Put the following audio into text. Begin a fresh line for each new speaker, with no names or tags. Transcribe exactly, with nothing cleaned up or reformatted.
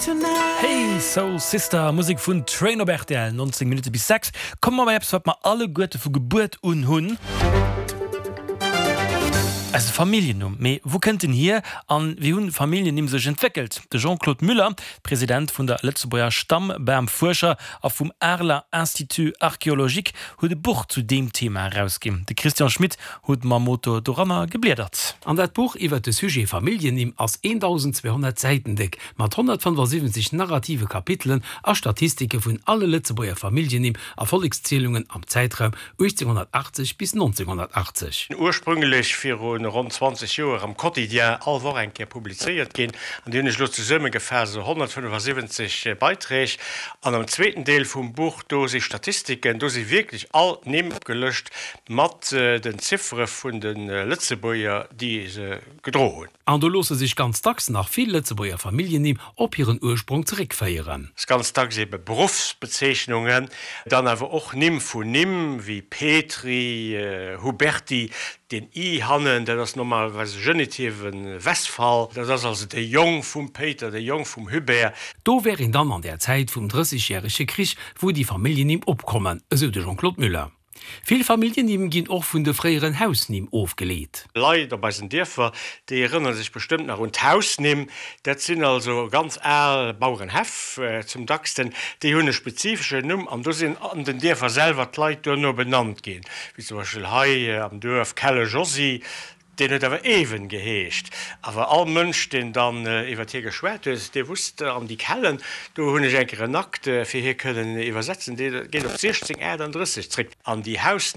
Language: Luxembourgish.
Hey Soul Sister, Musek vun Train op R T L, nonzéng Minutte bis sechs. Komme mer bei eppes, wat mer alleguerte vu Gebuert un hunn. Eise Familljennumm. Mee wou kënnt en hier an wéi hunn Familljennimm sech entwéckelt? De Jean-Claude Muller, President vun der Lëtzebuerger Stammbamfuerscher a vum Areler Institut Archéologique, huet e Buch zu deem Thema erausginn. De Christian Schmit huet mam Moto doranner gebliedert.
An dat Buch iwwer de Sujet Familljennimm ass eendausenzweehonnert Säiten déck, mat honnertfënnefasiwwenzeg narrative Kapitelen a Statistike vun alle Lëtzebuerger Familljennimm a Vollekszielungen am Zäitraum uechtzénghonnertachtzeg bis nonzénghonnertachtzeg.
Ursprünglech viru ronn zwanzeg Joer am Quotidien all Woch eng Kéier publizéiert ginn, an déi hunn ech elo zesummegefaasst, esou honnertfënnefasiwwenzeg Beiträg. An am zweeten Deel vum Buch, do si Statistiken, do si wierklech all d'Nimm opgelëscht mat den Ziffere vun de Lëtzebuerger, déi se gedro hunn.
An do loosse sech ganz dacks nach vill Lëtzebuerger Familljennimm op hiren Ursprong zeréckféieren.
Ganz dacks ebe Beruffsbezeechnungen, dann awer och Nimm vun Nimm wéi Petry, Huberty, deen i hannen, dat ass normalerweis e genitive Westfall, dat ass also de Jong vum Péiter, de Jong vum Hubert.
Do wär een dann an der Zäit vum Drëssegjärege Krich, wou déi Familljennimm opkommen, esou de Jean-Claude Muller. Vill Familljennimm ginn och vun de fréieren Hausnimm ofgeleet.
Leit op eisen Dierfer, déi erënnere sech bestëmmt nach un d'Hausnimm. Dat sinn also ganz al Bauerenhäff zum dacksten. Déi hunn e spezifeschen Numm an do sinn an den Dierfer selwer d'Leit duerno benannt ginn, wéi zum Beispill hei am Duerf Kelle Josy. Deen huet awer Ewen geheescht. Awer all Mënsch, deen dann iwwert hie geschwat huet, dee wusst, An déi Kellen, do hunn ech eng Kéier en Akt fir hie kënnen iwwersetzen, dee geet op siechzéng aachtanddrësseg zréck. An déi Hausnimm.